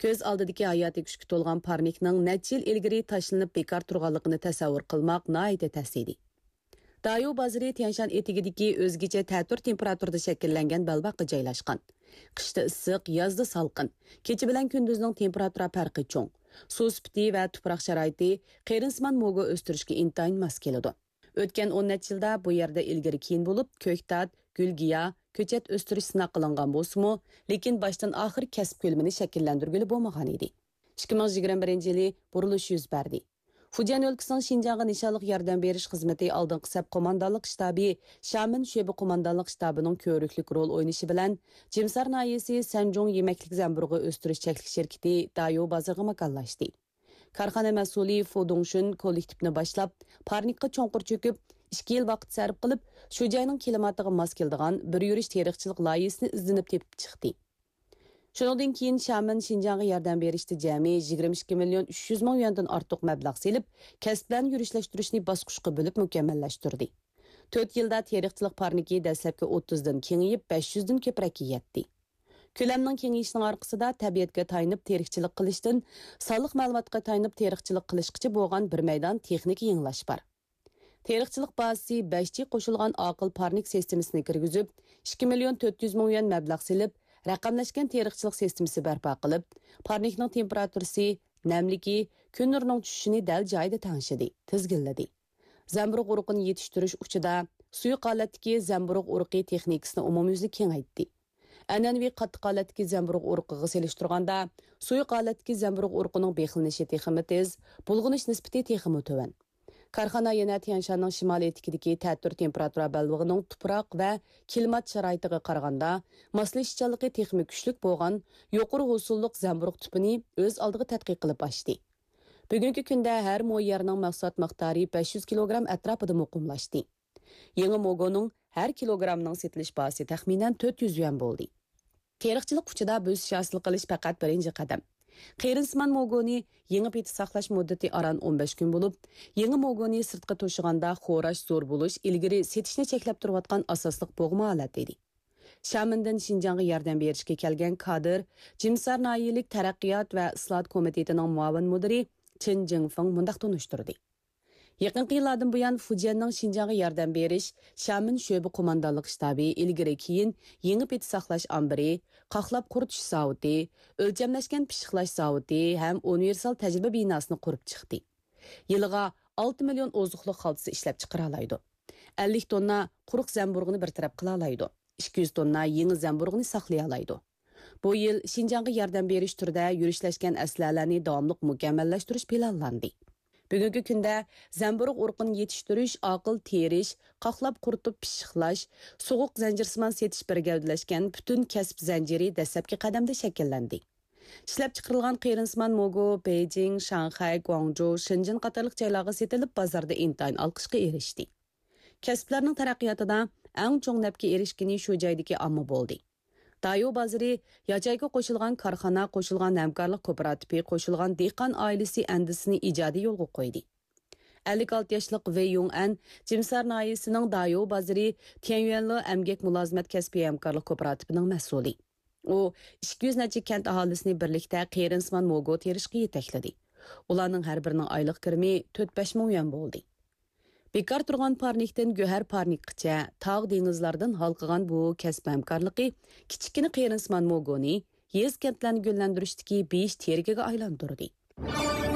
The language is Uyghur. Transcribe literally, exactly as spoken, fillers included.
كۆز ئالدىدىكى ھاياتىي كۈچكە تولغان پارنىكنىڭ نەچچە يىل ئىلگىرى تاشلىنىپ بىكار تۇرغانلىقىنى تەسەۋۋۇر قىلماق ناھايىتى تەس ئىدى. دايو بازىرى تيەنشان ئېتىكىدىكى ئۆزگىچە تەتۈر تېمپېراتۇرىدا شەكىللەنگەن بەلباغقا جايلاشقان. قىشتا ئىسسىق، يازدا سالقىن. كېچە بىلەن كۈندۈزنىڭ تېمپېراتۇرا پەرقى چوڭ. سۇ سۈپىتى ۋە تۇپراق شارائىتى قېرىندىسىمان موگو ئۆستۈرۈشكە ئىنتايىن ماس كېلىدۇ. ئۆتكەن ئون نەچچە يىلدا بۇ يەردە ئىلگىرى-كېيىن بولۇپ، كۆكتات، گۈلگىياھ، كۆچەت ئۆستۈرۈش سىناق قىلىنغان بولسىمۇ، لېكىن باشتىن ئاخىر كەسىپ كۆلىمىنى شەكىللەندۈرگىلى بولمىغان ئىدى. ئىككى مىڭ يىگىرمە بىرىنچى يىلى بۇرۇلۇش يۈز بەردى. فۇجيەن ئۆلكىسىنىڭ شىنجاڭغا نىشانلىق ياردەم بېرىش خىزمىتى ئالدىنقى سەپ قوماندانلىق شتابى شيامېن شۆبە قوماندانلىق شتابىنىڭ كۆۋرۈكلۈك رول ئوينىشى بىلەن، جىمسار ناھىيەسى سەنجۇڭ يېمەكلىك زەمبۇرۇغى ئۆستۈرۈش چەكلىك شىركىتى دايو بازىرىغا ماكانلاشتى. كارخانا مەسئۇلى فۇ دۇڭشۈن كوللېكتىپنى باشلاپ، پارنىكقا چوڭقۇر چۆكۈپ، ئىككى يىل ۋاقىت سەرپ قىلىپ، شۇ جاينىڭ كىلىماتىغا ماس كېلىدىغان بىر يۈرۈش تېرىقچىلىق لايىھىسىنى ئىزدىنىپ تېپىپ چىقتى. شۇنىڭدىن كېيىن شيامېن شىنجاڭغا ياردەم بېرىشتە جەمئىي يىگىرمە ئىككى مىليون ئۈچ يۈز مىڭ يۈەندىن ئارتۇق مەبلەغ سېلىپ، كەسىپلەرنى يۈرۈشلەشتۈرۈشنى باسقۇچقا بۆلۈپ مۇكەممەللەشتۈردى. تۆت يىلدا تېرىقچىلىق پارنىكى دەسلەپكى ئوتتۇزدىن كېڭىيىپ، بەش يۈزدىن كۆپرەككە يەتتى. كۆلەمنىڭ كېڭىيىشىنىڭ ئارقىسىدا تەبىئەتكە تايىنىپ تېرىقچىلىق قىلىشتىن سانلىق مەلۇماتقا تايىنىپ تېرىقچىلىق قىلىشقىچە بولغان بىر مەيدان تېخنىكا يېڭىلاش بار. تېرىقچىلىق بازىسى بەش جى قوشۇلغان ئاقىل پارنىك سىستېمىسىنى كىرگۈزۈپ، ئىككى مىليون تۆت يۈز مىڭ يۈەن مەبلەغ سېلىپ، رەقەملەشكەن تېرىقچىلىق سىستېمىسى بەرپا قىلىپ، پارنىكنىڭ تېمپېراتۇرىسى، نەملىكى، كۈن نۇرىنىڭ چۈشۈشىنى دەل جايىدا تەڭشىدى، تىزگىنلىدى. زەمبۇرۇغ ئۇرۇقىنى يېتىشتۈرۈش ئۇچىدا سۇيۇق ھالەتتىكى زەمبۇرۇغ ئۇرۇقى تېخنىكىسىنى ئومۇميۈزلۈك كېڭەيتتى. ئەنئەنىۋى قاتتىق ھالەتتىكى زەمبۇرۇغ ئۇرۇقىغا سېلىشتۇرغاندا، سۇيۇق ھالەتتىكى زەمبۇرۇغ ئۇرۇقىنىڭ بېقىلىنىشى تېخىمۇ تېز، بۇلغىنىش نىسبىتى تېخىمۇ تۆۋەن. كارخانا يەنە تيەنشاننىڭ شىمالىي ئېتىكىدىكى تەتۈر تېمپېراتۇرا بەلبېغىنىڭ تۇپراق ۋە كىلىمات شارائىتىغا قارىغاندا ماسلىشىشچانلىقى تېخىمۇ كۈچلۈك بولغان يۇقىرى ھوسۇللۇق زەمبۇرۇغ تۈپىنى ئۆز ئالدىغا تەتقىق قىلىپ ئاچتى. بۈگۈنكى كۈندە ھەر مو يەرنىڭ مەھسۇلات مىقدارى بەش يۈز كىلوگرام ئەتراپىدا مۇقىملاشتى. يېڭى موگونىڭ ھەر كىلوگرامنىڭ سېتىلىش باھاسى تەخمىنەن تۆت يۈز يۈەن بولدى. تېرىقچىلىق ئۇچىدا بۆسۈش ھاسىل قىلىش پەقەت بىرىنچى قەدەم. قېرىندىسىمان موگونى يېڭى پېتى ساقلاش مۇددىتى ئاران ئون بەش كۈن بولۇپ، يېڭى موگونى سىرتقا توشۇغاندا خوراش زور بولۇش ئىلگىرى سېتىشنى چەكلەپ تۇرۇۋاتقان ئاساسلىق بوغما ھالەت ئىدى. شيامېندىن شىنجاڭغا ياردەم بېرىشكە كەلگەن كادىر جىمسار ناھىيەلىك تەرەققىيات ۋە ئىسلاھات كومىتېتىنىڭ مۇئاۋىن مۇدىرى چېن جىڭفېڭ مۇنداق تونۇشتۇردى. يېقىنقى يىللاردىن بۇيان، فۇجيەننىڭ شىنجاڭغا ياردەم بېرىش شيامېن شۆبە قوماندانلىق شتابى ئىلگىرى كېيىن يېڭى پېتى ساقلاش ئامبىرى، قاقلاپ قۇرۇتۇش زاۋۇتى، ئۆلچەملەشكەن پىششىقلاش زاۋۇتى ھەم ئۇنىۋېرسال تەجرىبە بىناسىنى قۇرۇپ چىقتى. يىلىغا ئالتە مىليون ئوزۇقلۇق خالتىسى ئىشلەپچىقىرالايدۇ. ئەللىك توننا قۇرۇق زەمبۇرۇغنى بىر تەرەپ قىلالايدۇ. ئىككى يۈز توننا يېڭى زەمبۇرۇغنى ساقلىيالايدۇ. بۇ يىل شىنجاڭغا ياردەم بېرىش تۈرىدە يۈرۈشلەشكەن ئەسلىھەلەرنى داۋاملىق مۇكەممەللەشتۈرۈش پىلانلاندى. بۈگۈنكى كۈندە زەمبۇرۇغ ئۇرۇقىنى يېتىشتۈرۈش، ئاقىل تېرىش، قاقلاپ قۇرۇتۇپ پىششىقلاش، سوغۇق زەنجىرسىمان سېتىش بىر گەۋدىلەشكەن پۈتۈن كەسىپ زەنجىرى دەسلەپكى قەدەمدە شەكىللەندى. ئىشلەپچىقىرىلغان قېرىندىسىمان موگو بېيجىڭ، شاڭخەي، گۇاڭجۇ، شېنجېن قاتارلىق جايلارغا سېتىلىپ، بازاردا ئىنتايىن ئالقىشقا ئېرىشتى. كەسىپلەرنىڭ تەرەققىياتىدا ئەڭ چوڭ نەپكە ئېرىشكىنى شۇ جايدىكى ئامما بولدى. دايو بازىرى ياچېيكا قوشۇلغان كارخانا، قوشۇلغان ھەمكارلىق كوپىراتىپى، قوشۇلغان دېھقان ئائىلىسى ئەندىزىسىنى ئىجادىي يولغا قويدى. ئەللىك ئالتە ياشلىق ۋېي يۇڭ ئەن جىمسار ناھىيەسىنىڭ دايو بازىرى تيەنيۈەنلې ئەمگەك مۇلازىمەت كەسپىي ھەمكارلىق كوپىراتىپىنىڭ مەسئۇلى. ئۇ ئىككى يۈز نەچچە كەنت ئاھالىسىنى بىرلىكتە قېرىندىسىمان موگو تېرىشقا يېتەكلىدى. ئۇلارنىڭ ھەر بىرىنىڭ ئايلىق كىرىمى تۆت بەش مىڭ يۈەن بولدى. بىكار تۇرغان پارنىكتىن گۆھەر پارنىكقىچە تاغ دېڭىزلاردىن ھالقىغان بۇ كەسىپ ھەمكارلىقى كىچىككىنە قېرىندىسىمان موگونى يېزا كەنتلەرنى گۈللەندۈرۈشتىكى بېيىش تىرىكىگە ئايلاندۇردى.